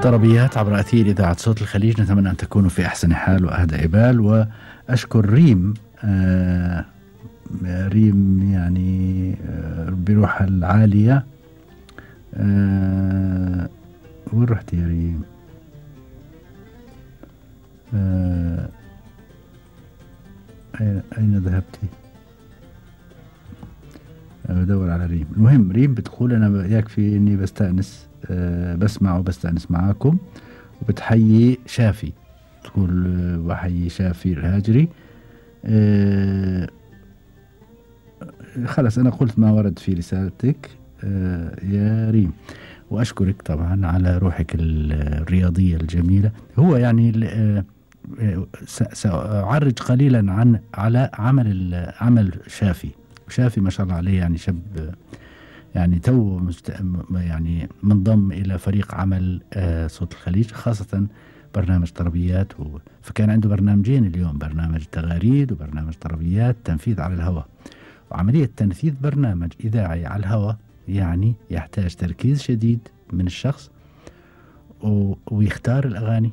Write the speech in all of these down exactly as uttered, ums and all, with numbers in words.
طربيات عبر أثير إذاعة صوت الخليج. نتمنى أن تكونوا في أحسن حال وأهدى بال، وأشكر ريم آه ريم يعني آه بروحها العالية. آه وين رحت يا ريم؟ آه أين, أين ذهبتي؟ بدور على ريم. المهم ريم بتقول أنا يكفي إني بستأنس أه بسمع وبستأنس معاكم، وبتحيي شافي، تقول بحيي شافي الهاجري. أه خلاص أنا قلت ما ورد في رسالتك أه يا ريم، وأشكرك طبعا على روحك الرياضية الجميلة. هو يعني أه سأعرج قليلا عن على عمل عمل شافي. شافي ما شاء الله عليه يعني شاب يعني تو مست... يعني منضم إلى فريق عمل آه صوت الخليج، خاصة برنامج طربيات و... فكان عنده برنامجين اليوم، برنامج تغاريد وبرنامج طربيات تنفيذ على الهواء. وعملية تنفيذ برنامج إذاعي على الهواء يعني يحتاج تركيز شديد من الشخص، و... ويختار الأغاني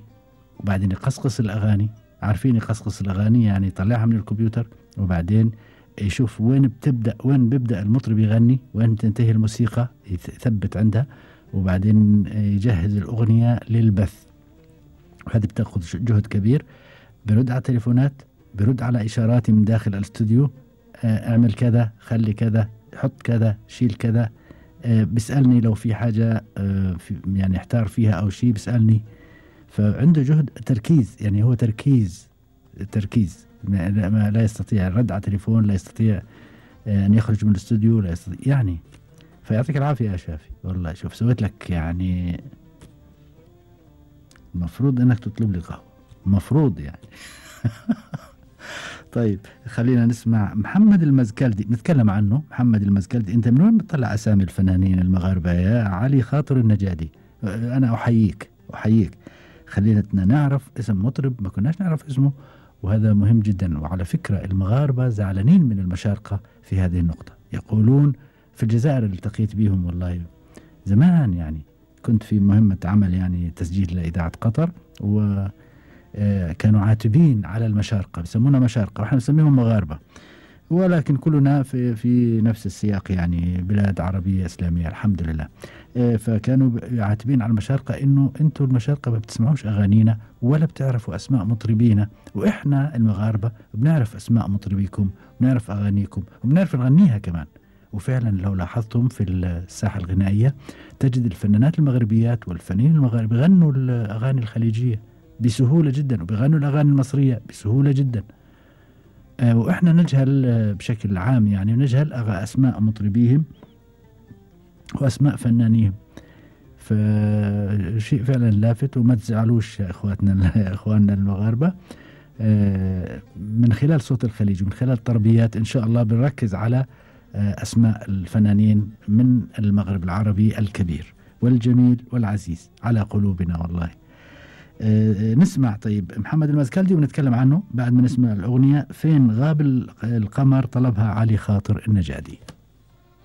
وبعدين يقصقص الأغاني. عارفين يقصقص الأغاني يعني يطلعها من الكمبيوتر، وبعدين يشوف وين بتبدأ وين بيبدأ المطرب يغني، وين تنتهي الموسيقى يثبت عندها، وبعدين يجهز الأغنية للبث. وهذه بتأخذ جهد كبير. برد على تليفونات، برد على إشاراتي من داخل الاستوديو، اعمل كذا، خلي كذا، حط كذا، شيل كذا. بيسألني لو في حاجة يعني احتار فيها أو شيء بيسألني. فعنده جهد تركيز، يعني هو تركيز تركيز ما لا يستطيع الرد على تليفون، لا يستطيع أن يخرج من الاستوديو، لا يستطيع يعني. فيعطيك العافية يا شافي والله. شوف سويت لك يعني المفروض انك تطلب لي قهوة، المفروض يعني. طيب خلينا نسمع محمد المزكلدي، نتكلم عنه. محمد المزكلدي، انت من وين بتطلع اسامي الفنانين المغاربة يا علي خاطر النجادي؟ انا احييك احييك. خلينا نعرف اسم مطرب ما كناش نعرف اسمه، وهذا مهم جدا. وعلى فكرة المغاربة زعلانين من المشارقة في هذه النقطة. يقولون في الجزائر اللي التقيت بيهم والله زمان، يعني كنت في مهمة عمل يعني تسجيل لإذاعة قطر، وكانوا عاتبين على المشارقة، بيسمونا مشارقة وإحنا نسميهم مغاربة، ولكن كلنا في في نفس السياق، يعني بلاد عربية إسلامية الحمد لله. فكانوا عاتبين على المشارقة إنه أنتوا المشارقة ما بتسمعوش أغانينا ولا بتعرفوا أسماء مطربينا، وإحنا المغاربة بنعرف أسماء مطربيكم، بنعرف أغانيكم وبنعرف نغنيها كمان. وفعلا لو لاحظتم في الساحة الغنائية تجد الفنانات المغربيات والفنانين المغاربة بيغنوا الأغاني الخليجية بسهولة جدا، وبيغنوا الأغاني المصرية بسهولة جدا. وإحنا نجهل بشكل عام، يعني نجهل أسماء مطربيهم وأسماء فنانيهم. فشيء فعلا لافت، وما تزعلوش يا إخواتنا إخواننا المغاربة. من خلال صوت الخليج ومن خلال التربيات إن شاء الله بنركز على أسماء الفنانين من المغرب العربي الكبير والجميل والعزيز على قلوبنا والله. أه نسمع طيب محمد المزكلدي ونتكلم عنه بعد ما نسمع الأغنية فين غاب القمر، طلبها علي خاطر النجادي.